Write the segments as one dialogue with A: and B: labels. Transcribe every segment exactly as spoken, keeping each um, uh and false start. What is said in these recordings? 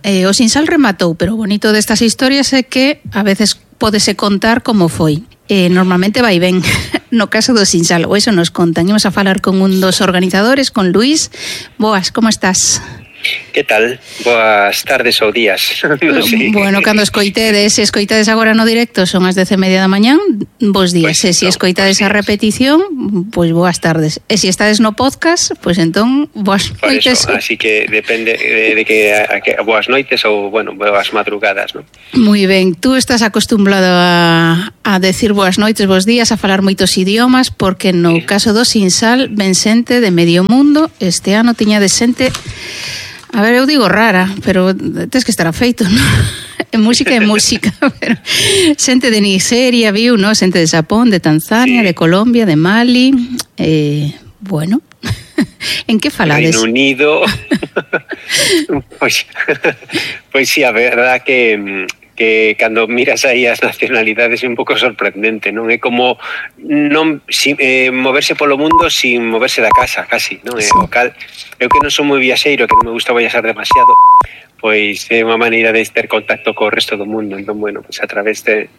A: eh, o Sinsal rematou, pero o bonito destas historias é que a veces pódese contar como foi. Eh, normalmente vai ben. No caso do Sinsal, o eso nos contan. Imos a falar con un dos organizadores, con Luís. Boas, como estás?
B: Que tal? Boas tardes ou días. No sé.
A: Bueno, cando escoitedes, se escoitades agora no directo son as dez e media da mañán, bos días. Pues, e se no, escoitades a repetición, pois pues boas tardes. E se estades no podcast, pois pues entón boas noites.
B: Eso, así que depende de, de que, a, a que boas noites ou, bueno, boas madrugadas, ¿no?
A: Moi ben, tú estás acostumbrado a, a decir boas noites, bos días, a falar moitos idiomas, porque no sí. caso do Sinsal ven xente de medio mundo. Este ano tiña de xente... A ver, eu digo rara, pero tens que estar afeito, non? En música é música, pero xente de Nigeria, viu, non? Xente de Xapón, de Tanzania, sí. de Colombia, de Mali, eh, bueno, en que falades?
B: Reino Unido, pois, pois sí, a verdad que... que cando miras aí as nacionalidades é un pouco sorprendente, non? É como non si, eh, moverse polo mundo sin moverse da casa, casi, non? Sí. O cal, eu que non sou moi viaxeiro, que non me gusta viaxar demasiado, pois é unha maneira de ter contacto co resto do mundo. Entón, bueno, pois a través de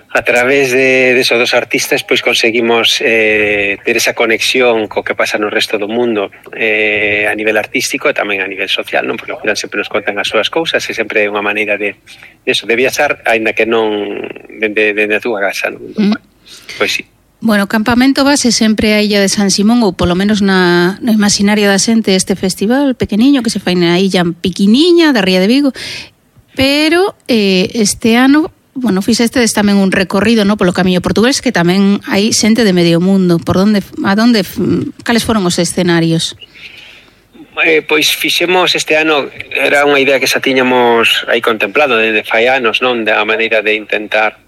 B: a través de, de esos dos artistas pois conseguimos eh, ter esa conexión co que pasa no resto do mundo, eh, a nivel artístico e tamén a nivel social, non? Porque ao final sempre nos contan as súas cousas e sempre é unha maneira de, de eso, de viaxar, aínda que non dende, dende a túa casa, non? Entón, mm. Pois sí.
A: Bueno, o campamento base sempre a Illa de San Simón, ou polo menos na, no imaginario da xente, este festival pequeniño que se fai na illa pequeniña da Ría de Vigo, pero eh, este ano bueno, fixestes tamén un recorrido, no, polo camiño portugués, que tamén hai xente de medio mundo. Por onde, a donde, cales foron os escenarios?
B: Eh, pois fixemos este ano, era unha idea que xa tiñamos aí contemplado desde fai anos, non? Da maneira de intentar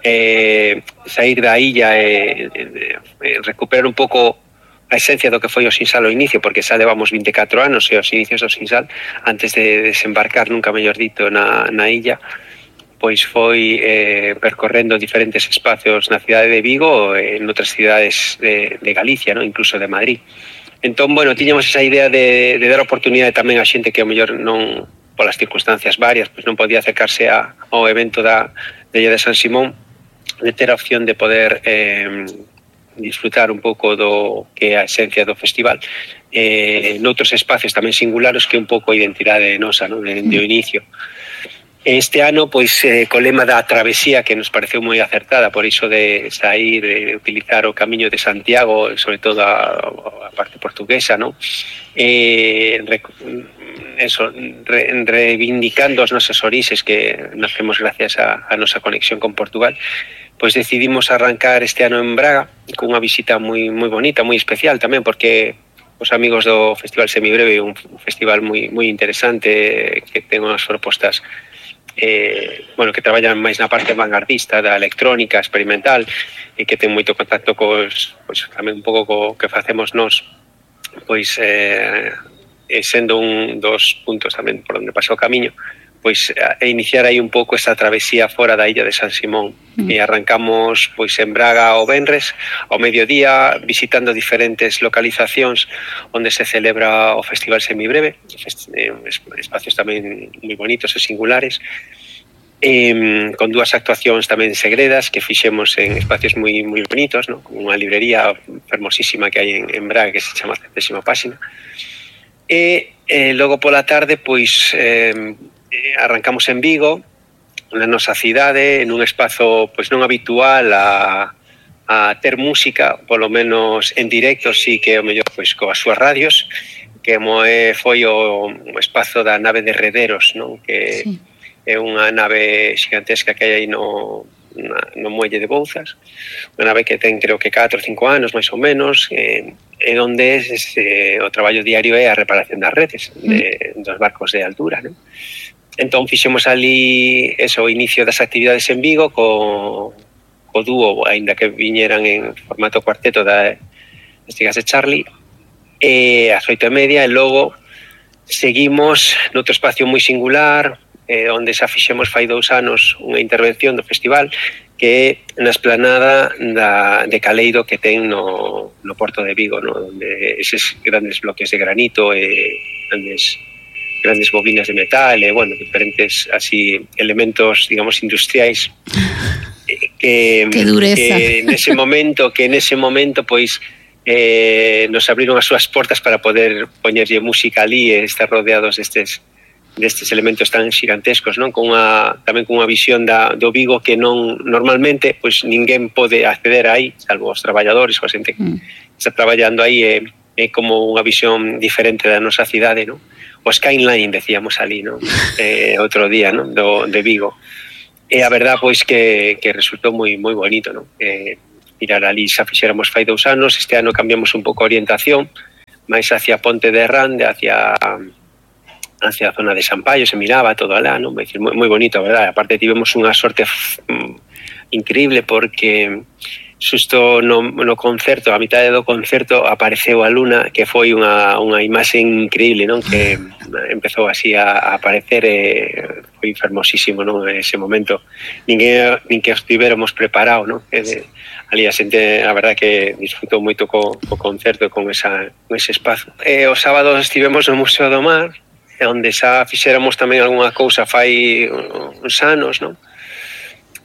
B: eh, sair da illa e eh, eh, recuperar un pouco a esencia do que foi o Sinsal ao inicio, porque xa levamos vinte e catro anos e os inicios do Sinsal, antes de desembarcar, nunca mellor dito, na, na illa, pois foi eh, percorrendo diferentes espacios na cidade de Vigo e en outras cidades de, de Galicia, ¿no? Incluso de Madrid. Entón, bueno, tiñamos esa idea de, de dar oportunidade tamén a xente que ao mellor non, polas circunstancias varias, pois non podía acercarse a, ao evento da de Illa de San Simón, de ter a opción de poder eh, disfrutar un pouco do que é a esencia do festival eh, noutros espacios tamén singulares que é un pouco a identidade nosa, ¿no? de, de o inicio. Este ano, pois, eh, co lema da travesía, que nos pareceu moi acertada, por iso de sair, de utilizar o camiño de Santiago, sobre todo a, a parte portuguesa, ¿no? Eh, rec, eso, re, reivindicando os nosos orixes que nacemos gracias a, a nosa conexión con Portugal, pois decidimos arrancar este ano en Braga, con unha visita moi moi bonita, moi especial tamén, porque os amigos do Festival Semibreve, un festival moi moi interesante, que ten unhas propostas eh, bueno, que traballan máis na parte vanguardista da electrónica experimental e que ten moito contacto cos, pois, tamén un pouco co que facemos nós, pois eh, sendo un dos puntos tamén por onde pasa o camiño, pois a iniciar aí un pouco esta travesía fora da Illa de San Simón. Mm. E arrancamos pois en Braga o venres, ao mediodía, visitando diferentes localizacións onde se celebra o Festival Semibreve, espacios tamén moi bonitos e singulares, eh, con dúas actuacións tamén segredas que fixemos en espacios moi moi bonitos, ¿no? Como unha librería fermosísima que hai en, en Braga que se chama Centésima Páxina. E eh, logo pola tarde pois eh, arrancamos en Vigo, na nosa cidade, nun espazo pois non habitual a, a ter música, polo menos en directo, sí que o mellor pois coas súas radios, que moe foi o, o espazo da nave de Rederos, non? Que sí. É unha nave xigantesca que hai aí no, na, no muelle de Bouzas, unha nave que ten creo que catro ou cinco anos máis ou menos, eh, e onde es, eh, o traballo diario é a reparación das redes de, dos barcos de altura, non? Entón fixemos ali eso, o inicio das actividades en Vigo co, co dúo, aínda que viñeran en formato cuarteto da Estigas de Charlie, e ás oito e media, e logo seguimos noutro espacio moi singular, eh, onde xa fixemos fai dous anos unha intervención do festival, que é na esplanada da, de Caleiro que ten no, no Porto de Vigo, no? Onde eses grandes bloques de granito e grandes grandes bobinas de metal e, bueno, diferentes así elementos, digamos, industriais que,
A: que dureza.
B: Que nese momento, que nese momento, pois, eh, nos abriron as súas portas para poder poñerlle música ali e estar rodeados destes destes elementos tan xigantescos, non? Con unha, tamén con unha visión da, do Vigo que non normalmente pois ninguén pode acceder aí, salvo os traballadores ou a xente que mm. está traballando aí, é, é como unha visión diferente da nosa cidade, non? O skyline, decíamos ali, non? Eh, outro día, non? Do, de Vigo. E a verdad, pois, que, que resultou moi moi bonito, non? Eh, mirar ali, xa fixéramos fai dous anos, este ano cambiamos un pouco a orientación, máis hacia Ponte de Rande, hacia hacia a zona de Sampaio, se miraba todo alá, non? Decir, moi, moi bonito, a verdade. Aparte tivemos unha sorte f- increíble porque xusto no, no concerto, a mitad do concerto apareceu a luna, que foi unha, unha imaxe increíble, non? Que empezou así a, a aparecer e foi fermosísimo, non? Ese momento ninguén, nin que estivéramos preparados, non? E de, ali a xente, a verdade que disfrutou moito co, co concerto con, esa, con ese espazo. E o sábado estivemos no Museo do Mar, onde xa fixéramos tamén algunha cousa fai uns anos, non?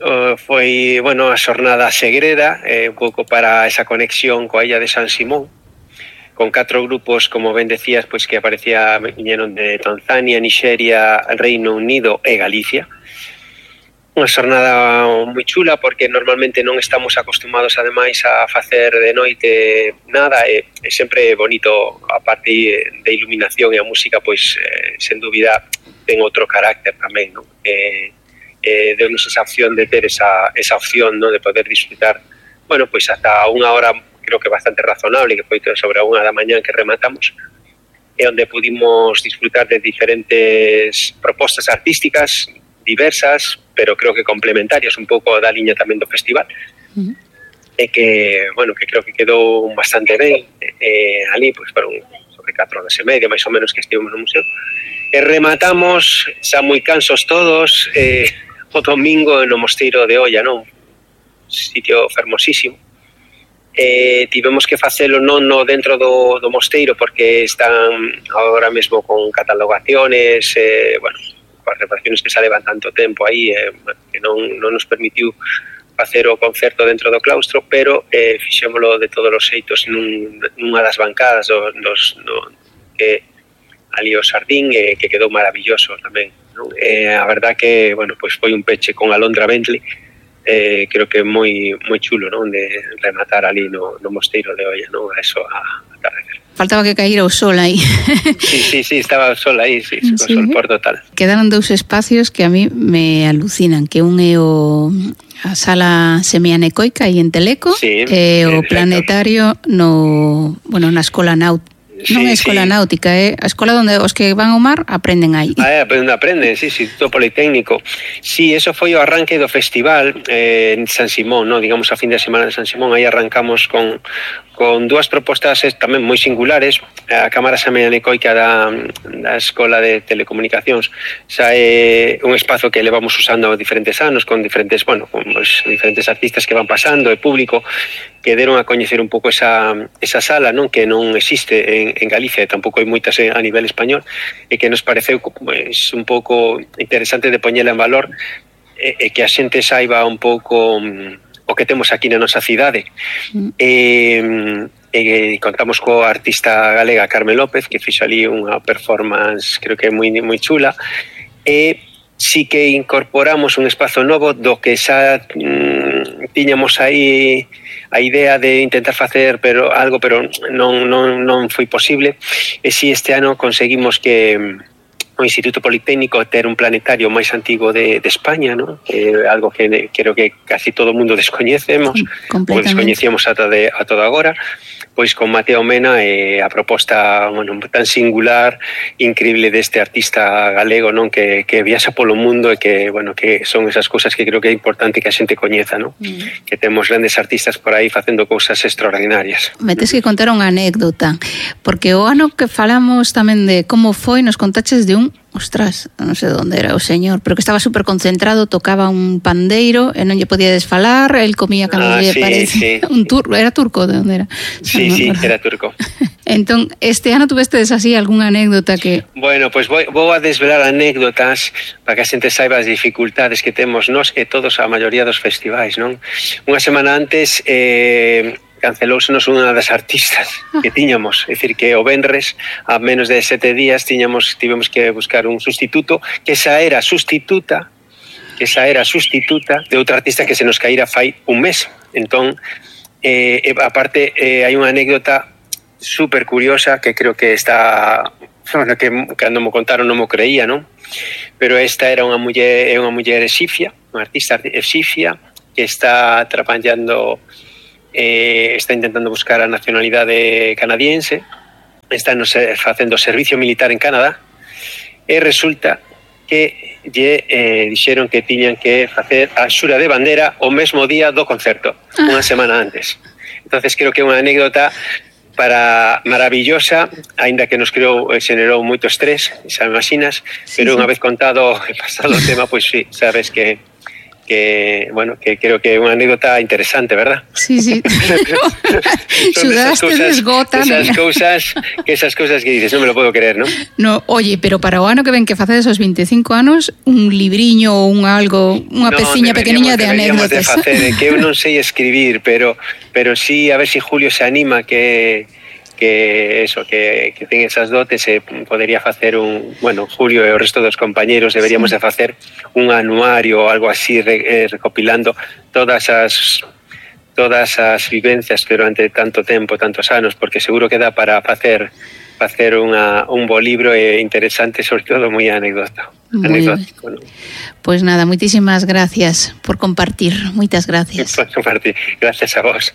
B: Uh, foi, bueno, a xornada segreda, eh, un pouco para esa conexión coa illa de San Simón, con catro grupos, como ben decías, pois que aparecía, viñeron de Tanzania, Nigeria, Reino Unido e Galicia. Unha xornada moi chula porque normalmente non estamos acostumados ademais a facer de noite nada, e, e sempre bonito, a parte de iluminación e a música, pois eh, sen dúbida ten outro carácter tamén, non? Eh, eh, deu-nos esa opción de ter esa, esa opción, non? De poder disfrutar, bueno, pois hasta unha hora creo que bastante razonable, que foi sobre a unha da mañán que rematamos, e onde pudimos disfrutar de diferentes propostas artísticas diversas, pero creo que complementarias un pouco da liña tamén do festival. Uh-huh. E que, bueno, que creo que quedou bastante ben. Eh, ali, pois, foron sobre catro horas e media, máis ou menos, que estivemos no museo. E rematamos, xa moi cansos todos, eh, o domingo no Mosteiro de Oia, non? Sitio fermosísimo. Eh, tivemos que facelo non no dentro do, do mosteiro, porque están agora mesmo con catalogaciones, eh, bueno, as reparaciones que xa levan tanto tempo aí, eh, que non, non nos permitiu facer o concerto dentro do claustro, pero eh, fixémolo de todos os xeitos nun, nunha das bancadas do, dos, no, que ali o Sardín, eh, que quedou maravilloso tamén, non? Eh, a verdad que, bueno, pois foi un peche con Alondra Bentley, eh, creo que moi moi chulo, non? De rematar ali no, no Mosteiro de Oia, non? A eso a, a tardecer.
A: Faltaba que caíra o sol aí.
B: Sí, sí, sí, estaba o sol aí, sí, sí. O sol por total.
A: Quedaron dous espacios que a mí me alucinan, que un é o a sala semianecoica aí en Teleco,
B: sí,
A: e o planetario no, bueno, na escola náutica. Non é escola sí. náutica, é a escola onde os que van ao mar aprenden aí.
B: Ah, aprenden, aprenden, sí, sí, todo politécnico. Sí, eso foi o arranque do festival eh, en San Simón, ¿no? Digamos a fin de semana de San Simón, aí arrancamos con con dúas propostas tamén moi singulares. A Cámara Semianecoica da, da Escola de Telecomunicacións xa é un espazo que levamos usando diferentes anos, con diferentes, bueno, con os diferentes artistas que van pasando, e público que deron a coñecer un pouco esa, esa sala, non? Que non existe en, en Galicia, e tampouco hai moitas a nivel español, e que nos pareceu pues, un pouco interesante de poñela en valor, e, e que a xente saiba un pouco o que temos aquí na nosa cidade. Mm. E, e contamos coa artista galega Carmen López, que fixo ali unha performance, creo que moi moi chula, e sí que incorporamos un espazo novo do que xa mm, tiñamos aí a idea de intentar facer pero algo, pero non, non, non foi posible, e si este ano conseguimos que o Instituto Politécnico ter un planetario máis antigo de, de España, ¿no? Que é algo que creo que casi todo o mundo descoñecemos, ou descoñecíamos ata, de, a toda agora, pois con Mateo Mena e a proposta, bueno, tan singular, increíble deste artista galego, non? Que, que viaxa polo mundo e que, bueno, que son esas cousas que creo que é importante que a xente coñeza, non? Mm. Que temos grandes artistas por aí facendo cousas extraordinarias.
A: Me tes que contar unha anécdota, porque o ano que falamos tamén de como foi, nos contaches de un ostras, non sei onde era o señor, pero que estaba super concentrado, tocaba un pandeiro e non lle podía desfalar, el comía cando
B: ah,
A: lle
B: sí,
A: parece.
B: Sí.
A: Un turco, era turco de onde era?
B: Sí, no, sí, no, era turco.
A: Entón, este ano tuvestes así algunha anécdota que...
B: Bueno, pois pues vou, vou a desvelar anécdotas para que a xente saiba as dificultades que temos nós e todos a maioría dos festivais, non? Unha semana antes eh, cancelóusenos unha das artistas que tiñamos, é dicir, que o venres a menos de sete días tiñamos, tivemos que buscar un sustituto, que esa era sustituta que esa era sustituta de outra artista que se nos caíra fai un mes. Entón, eh, aparte, eh, hai unha anécdota super curiosa que creo que está, bueno, que cando me contaron non me creía, non? Pero esta era unha muller, é unha muller exifia, unha artista exifia que está traballando, eh, está intentando buscar a nacionalidade canadiense, está no, facendo servicio militar en Canadá, e resulta que lle eh, dixeron que tiñan que facer a xura de bandera o mesmo día do concerto, unha semana antes. Entonces creo que é unha anécdota para maravillosa, aínda que nos creou, xenerou moito estrés, xa me imaginas, sí, pero sí. Unha vez contado e pasado o tema, pois pues, sí, sabes que que, bueno, que creo que é unha anécdota interesante, verdad?
A: Sí, sí. Sudaste desgota.
B: Esas cousas, que esas cousas que dices, non me lo puedo creer, ¿no?
A: No, oye, pero para o ano que ven que facedes os veinticinco anos, un libriño ou un algo, unha no, peciña pequeniña de anécdotas.
B: De facer, que eu non sei escribir, pero pero sí, a ver si Julio se anima que que eso, que, que ten esas dotes e podería facer un, bueno, Julio e o resto dos compañeros deberíamos sí. de facer un anuario ou algo así re, eh, recopilando todas as todas as vivencias durante tanto tempo, tantos anos, porque seguro que dá para facer facer unha, un bo libro e interesante, sobre todo moi anécdota. Anecdótico, ¿no?
A: Pues nada, muchísimas gracias por compartir. Muchas gracias.
B: Por compartir. Gracias a vos.